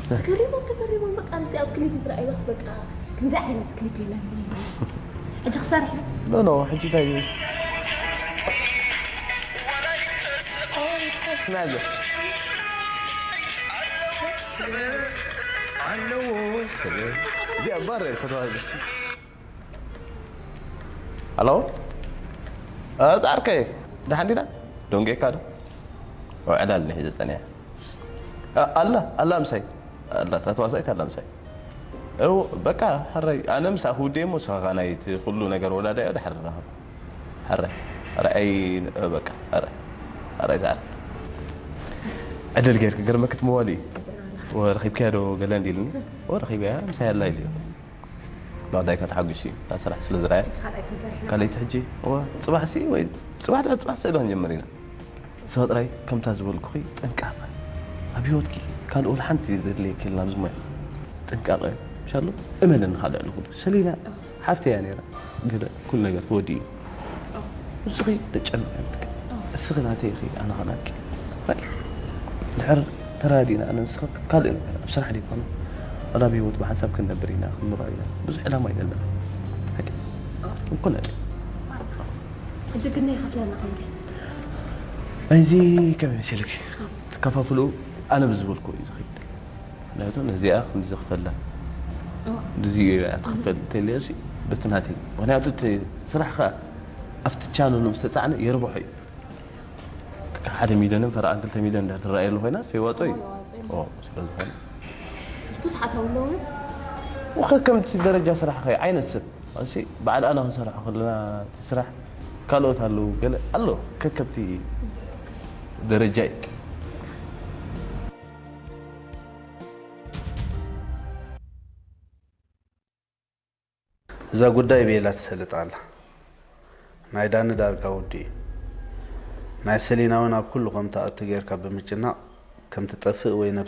ተገሪሞም ተገሪሞም በቃ። ኣብቲ ኣብ ክሊፕ ዝረኣይዋስ በቃ ከምዚ ዓይነት ክሊፕ የለን። ሕጂ ክሰርሕ ዶ? ኖ ኖ ሕጂ እንታይ እዩ? ስማዘ ኣለዎ እዚኣ ባር ከተዋህደ። ሄሎ ፃርከይ፣ ደሓን ዲና? ደንጌካ ዶ? ዕላል ንሒዘ ፀኒሐ። ኣላ ኣላ ምሳይ ኣላ፣ እታ ተዋሳኢት ኣላ ምሳይ። እው በቃ ሕራይ፣ ኣነ ምሳኺ ውዴ እሞ ንስኻ ኸዓ ናይቲ ኩሉ ነገር ወላዳዮ ድሓር ንራኸብ። ሕራይ ሕራይ፣ ኣይ በቃ ሕራይ ሕራይ፣ ፃዕር ዕድል ጌርክ ገርመክት መዋሊ። ወረኺብካያ ዶ ገለ እንዲልኒ? ወረኺብያ ምሳይ ኣላ ኢልዮ። ባዕዳይ ከተሓጒስ እዩ እታ ስራሕ ስለ ዝረኣየ። ካልኣይቲ ሕጂ እዋ፣ ፅባሕ ሲ ወይ ፅባሕ ድሕሪ ፅባሕ ስእሊ ክንጀምር ኢና። ንስኻ ጥራይ ከምታ ዝበልኩኺ ጥንቃቐ ኣብ ህይወትኪ ካልእ ወላ ሓንቲ ዘድልየኪ የለን ኣብዚ ሞያ። ጥንቃቐ ምሻሎ እመነኒ። ካልእ ልኹ ሰሊና ሓፍተይ እያ ነይራ። ገለ ኩሉ ነገር ተወዲኡ እዩ። ንስኺ ተጨንቂ የብልኪ። እስኺ ናተይ ኢኺ ኣነ ኸኣ ናትኪ። ድሕር ተረዳዲእና ኣነ ንስኺ ካልእ ነገር ኣብ ስራሕ ደይኮነ ዋላ ኣብ ህይወት ብሓንሳብ ክንነብር ኢና ክንኖር ኢና። ብዙሕ ዕላማ እዩ ዘለና። ሓቂ እኮ ነለ ሕጂ ግን ናይ ከፍለና ከምዚ ናይዚ ከመይ መሲልኪ? ተከፋፍሉ ኣነ ብዝበልኩ እዩ ዝኸይድ። ምክንያቱ ነዚኣ ክንዲ ዘኽፈላ እዚ እያ ትኽፈል እንተልዮሲ በቲ ናተይ። ምክንያቱ እቲ ስራሕ ከ ኣብቲ ቻነሉ ምስ ተፃዕነ የርብሖ እዩ። ሓደ ሚልዮንን ፈረቓን ክልተ ሚልዮን እንድሕር ትረኣየሉ ኮይና የዋፅኦ እዩ። ኦ፣ ስለ ዝኾነ ብዙሓት ኣለዉ። ወኸ ከምቲ ደረጃ ስራሕ ኸ ዓይነት ሰብ ኣሲ በዓል ኣና ክንሰርሖ ከለና እቲ ስራሕ ካልኦት ኣለዉ ገለ ኣሎ ከከብቲ ደረጃ እዩ። እዛ ጉዳይ ቤላ ትሰልጥ ኣላ። ናይ ዳኒ ዳርጋ ውዲ እዩ። ናይ ሰሊና እውን ኣብ ኩሉ ከም ትኣቱ ጌርካ ብምጭናቕ ከም ትጠፍእ ወይ